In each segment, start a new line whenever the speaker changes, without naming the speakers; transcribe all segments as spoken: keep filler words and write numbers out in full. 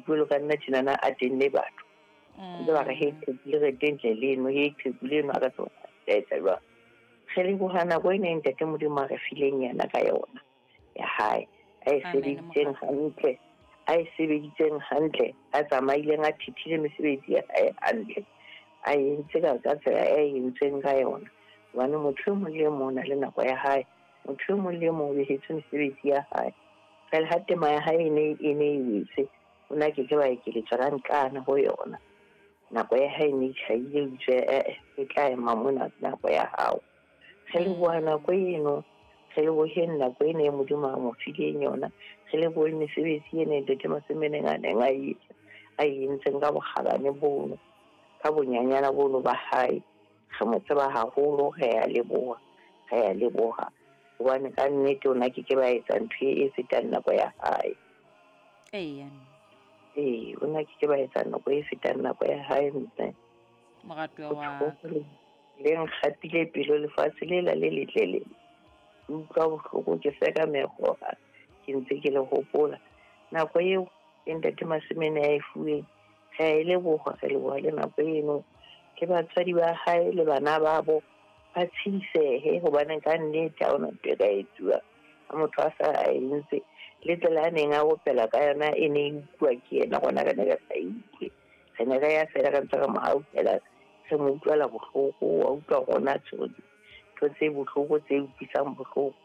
dipuelo ka nna tjenana a tenne batho. Ntse ba re he qheku le re tentle leno, he qheku leno a ka tsona etsa jwang. Re leboha nako ena e ntate Modimo a re fileng yena ka yona ya hae, a e sebeditseng hantle, a e sebeditseng hantle, a tsamaileng a thithile mesebetsi ya hae hantle, a entse ka ka tsela e entsweng ka yona. Hobane motho e mong le e mong o na le nako ya hae, motho e mong le e mong o behetswe mesebetsi ya hae. Fela ha tema ya hae e ne e ne e wetse, o na ke ke ba ekeletswa ka nqane ho yona. Nako ya hae ne e tjhaile, o itse eh e tla ema mona nako ya hao. Re leboha nako eno, re leboheng nako ena e Modimo a mo fileng yona, re lebohe mesebetsi ena e ntate Masemeneng a neng a e etsa, a e entseng ka bokgabane bono, ka bonyanyana bono ba hae. Re mo tseba haholo, re a leboha, re a leboha. Hobane ka nnete o na ke ke ba etsa ntho e fetang nako ya hae.
Eya.
Ee, o na ke ke ba etsa nako e fetang nako ya hae mme.
Moratuwa wa ka.
Le nkgapile pelo lefatshe lela le letle le. Ke utlwa bohloko ke seka mekgoa, ke ntse ke le hopola. Nako eo e ntate Masemene a e fuweng, re a e leboha, re leboha le nako eno. Ke batswadi ba hae le bana babo ba tshidisehe, hobane ka nnete ha hona ntho e ka etsuwang. Ha motho a sa a entse, le tsela a neng a opela ka yona e ne e utlwa ke yena, rona re ne re sa e utlwe. Re ne re ya fela re ntse re mo hauhela, re mo utlwela bohloko, wa utlwa rona tshwere ntho tse bohloko tse utlwisang bohloko.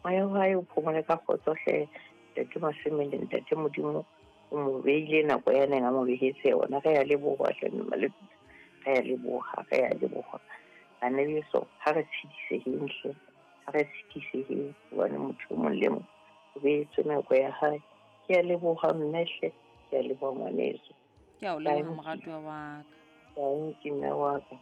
Moya wa hae o phomole ka kgotso hle, ntate Masemene, ntate Modimo o mo beile nako ya neng a mo behetse yona. Re a leboha hle mme Malepitsa, re a leboha, re a leboha. Bana beso, ha re tshediseheng hle, ha re tshediseheng, hobane motho e mong le mong o behetswe nako ya hae. Ke a leboha mme hle, ke a leboha ngwaneso.
Ke a o leboha moratuwa wa ka.
Dankie mme wa ka.